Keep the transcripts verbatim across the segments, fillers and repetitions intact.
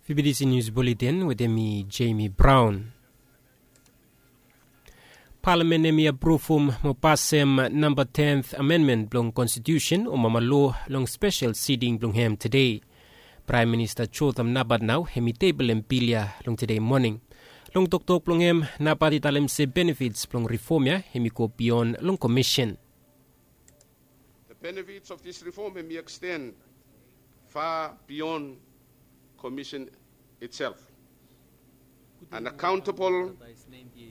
Fibidisi nius buletin wetem mi, Jamie Brown. Palamen hem i apruvum mo pasem namba tenth amendment blong konstitusen o mama loa long spesel siting blong hem tede. Praem Minista Jotham Napat nao hem i teblem bil ya long tede moning. Long toktok blong hem, Napat i talem se benefits blong rifom ya hem i go bion long komisen. The benefits of this reform hem i extend far beyond commission itself. An accountable,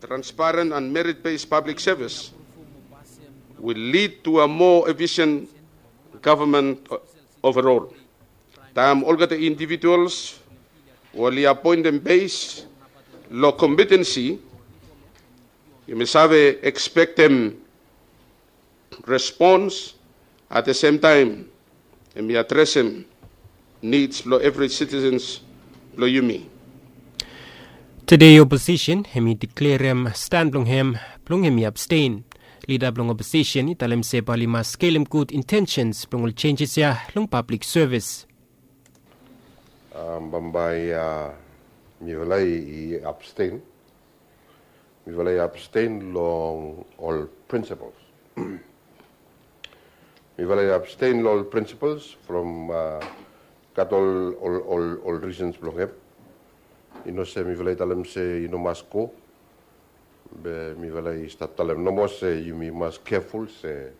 transparent and merit-based public service will lead to a more efficient government overall. Taem olgeta individuals we oli appointed based long competency, yumi save expectem response at the same time, hem i adresem needs blong evri citizens blong yumi. Tede oposisen hem i deklerem stan blong hem blong hem i abstain. Lida blong oposisen i talem se bae oli mas skelem gud intensens blong ol jenjes ya long pablik sevis. Bambae mifala i abstain. Mifala i abstain long ol principles. Mifala i abstain long ol principles from gat ol ol ol reasons blong hem. I no se mifala i talem se i no mas go. Be mifala i stap talem nomo se yumi mas keful se